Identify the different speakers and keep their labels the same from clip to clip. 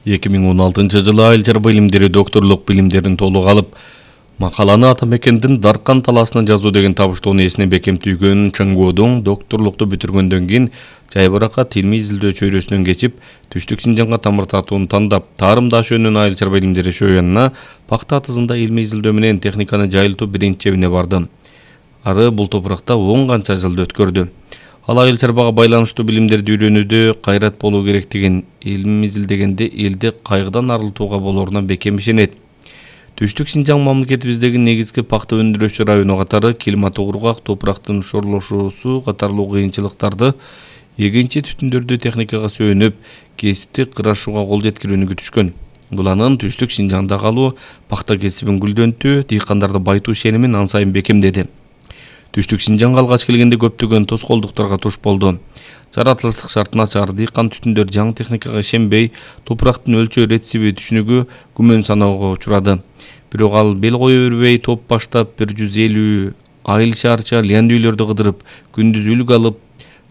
Speaker 1: 2016 жылы айыл чарба илимдери докторлук билимдерин толук алып, макаланы ата мекендин Даркан талаасына жазуу деген табыштоону эсине бекем түйгөн Чыңгоодун докторлукту бүтүргөндөн кийин Жайбаракат илмий изилдөө чөйрөсүнөн кечип, Түштүк Синжаңга тамыр тартууну тандап, Таарым Даш өнүн айыл чарба илимдери шөөнүнө пакта атызында илмий изилдөө менен техниканы жайылтуу биринчи чебине барды. Ары бул топуракта 10 канча жылды өткөрдү. Ал айыл чарбага байланыштуу билимдерди үйрөнүүдө кайрат болуу керектигин, илим изилдегенде элди кайгыдан арылтууга болоруна бекем ишенет. Түштүк Синжаң мамлекетибиздеги негизги пакта өндүрүүчү району катары климаты кургак, топурактын шорлошуусу катарлуу кыйынчылыктарды, эгинчи түтүндөрдү техникага сүйөнүп, кесиптик кырашууга кол жеткирүүнү күтүшкөн. Бул анын Түштүк Синжаңда калуу, пакта кесибин гүлдөнтүү, дыйкандарды байтуу ишенимин ан сайын бекемдеди. Түштүк Синжаңга алгач келгенде көптөгөн тоскоолдуктарга туш болду. Жаратылыштык шарт начар, дыйкан түтүндөр жаңы техникага ишенбей, топурактын өлчөө ретсиби түшүнүгү күмөн саноого учурады. Бирок ал бел кое бербей топ баштап 150 айыл шаарча лянды үйлөрдү кыдырып, күндүз үлгү алып,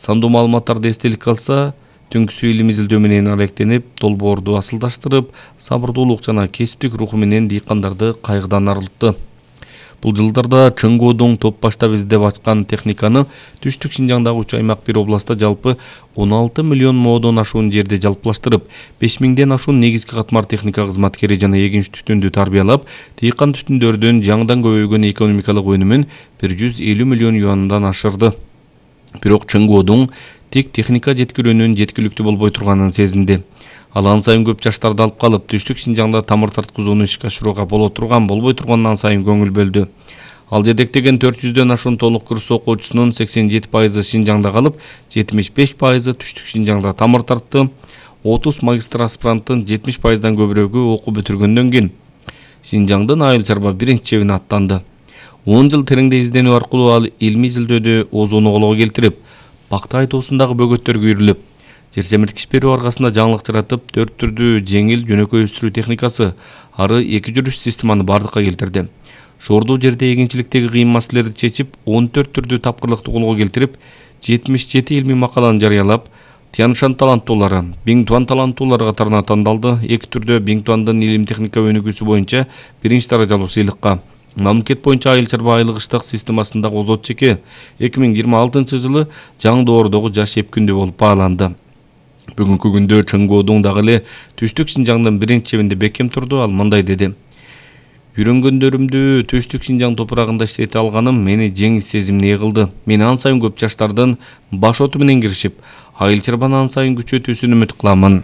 Speaker 1: сандуу маалыматтарды эстеликке алса, түнкүсү илим изилдөө менен алектенип, долбоорду асылдаштырып, сабырдуулук жана кесиптик руху менен дыйкандарды кайгыдан арылтты. Бул жылдарда Чыңгоодун топ баштап издеп ачкан техниканы Түштүк Синжаңдагы 3 аймак бир областта жалпы 16 миллион моодон ашуун жерде жалпылаштырып, 5000ден ашуун негизги катмар техника кызматкери жана эгинч түтүндү тарбиялап, дыйкан түтүндөрдүн жаңыдан көбөйгөн экономикалык өнүмүн 150 миллион юандан ашырды. Бирок Чыңгоодун тек техника жеткирүүнүн жеткиликтүү болбой турганын сезинди. Ал ан сайын көп жаштарды алып калып, Түштүк Синжаңда тамыр тарткызууну ишке ашырууга боло турган, болбой тургандан сайын көңүл бөлдү. Ал жетектеген 400дөн ашуун толук курс окуучусунун 87% Синжаңда калып, 75% Түштүк Синжаңда тамыр тартты. 30 магистр аспиранттын 70%дан көбүрөгү окуу бүтүргөндөн кийин Синжаңдын айыл чарба биринчи чебине аттанды. 10 жыл тереңде изденүү аркылуу ал илмий изилдөөдө озууну колго келтирип, пакта айтуусундагы бөгөттөргө үйрүлүп, жер семирткич берүү аргасында жаңылык жаратып, 4 түрдүү жеңил жөнөкөй өстүрүү техникасы, ары 2 жүрүш системаны бардыкка келтирди. Шоордуу жерде эгинчиликтеги кыйын маселелерди чечип, 14 түрдүү тапкырлыкты колго келтирип, 77 илмий макаланы жарыялап, Тяншан таланттуулары, Биңтуан таланттуулары катарына тандалды. 2 түрдө Биңтуандын илим техника өнүгүүсү боюнча 1-чи даражалуу сыйлыкка. Мамлекет боюнча айыл чарба айлык-ыштык системасындагы озот чеке 2026 жылы Жаңдоордогу жаш эпкүндү болуп бааланды. Бүгүнкү күндө Чыңгоодун дагы эле Түштүк Синжаңдын биринчи чебинде бекем турду. Ал мындай деди: "Үйрөнгөндөрүмдү Түштүк Синжаң топурагында иштете алганым мени жеңис сезимине кылды. Мен ан сайын көп жаштардын баш оту менен киришип, айыл чарбаны ан сайын күчөтүүсүн үмүт кыламын".